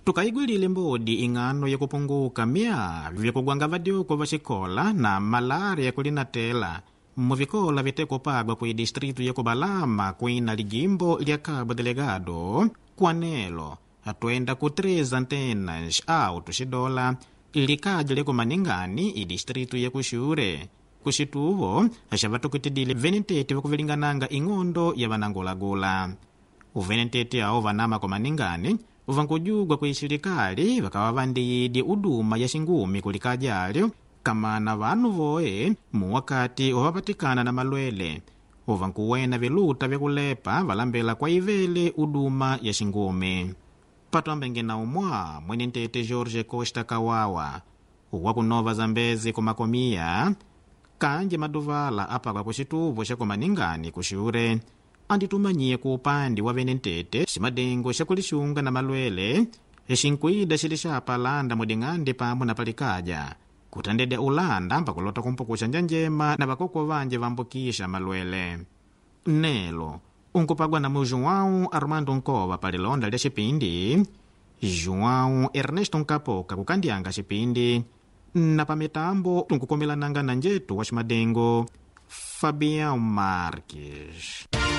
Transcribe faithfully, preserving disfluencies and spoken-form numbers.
Tukaigwilile mbodi ing'ano yakupunguka mya vyakugwanga vadyuko va xikola na malaria kulinatela muvikola vitekupagwa ku distritu ya Kubalama kuina lijimbo lya Cabo Delgado kwanelo atwenda ku três antenas auto xidola likaja lya kumaningani idistritu ya Kuxure kuxituvo xavatukutidile venentete vakuvilingananga ing'ondo ya vanangulagula uvenentete awo vanama kumaningani vankujugwa ku isilikali vakawa vandiyidi uduma ya xingumi kulikaja alyo kamana vanu voe muwakati wavapatikana na malwele uvankuwena viluta vyakulepa valambela kwa ivele uduma ya xingumi patwambenge na umwa mwene ntete Jorge Costa Kawawa wakunova Zambezi kumakomia kanje maduvala apakwa kuxituvo xa kumaningani kuxure anditumanyiye ku upandi wa vene ntete ximadengo xa kulixunga na malwele xinkwida xili xa palanda muding'ande pamwe na palikaja kutandedya ulanda mpakulota kumpukuxa njanjema na vakoko vanje vambukisha malwele nelo unkupagwa na mu João Armando Nkova palilonda lya xipindi João Ernesto Nkapoka kukandyanga xipindi na pamitambo tunkukomelananga na njetu wa ximadengo Fabião Marques.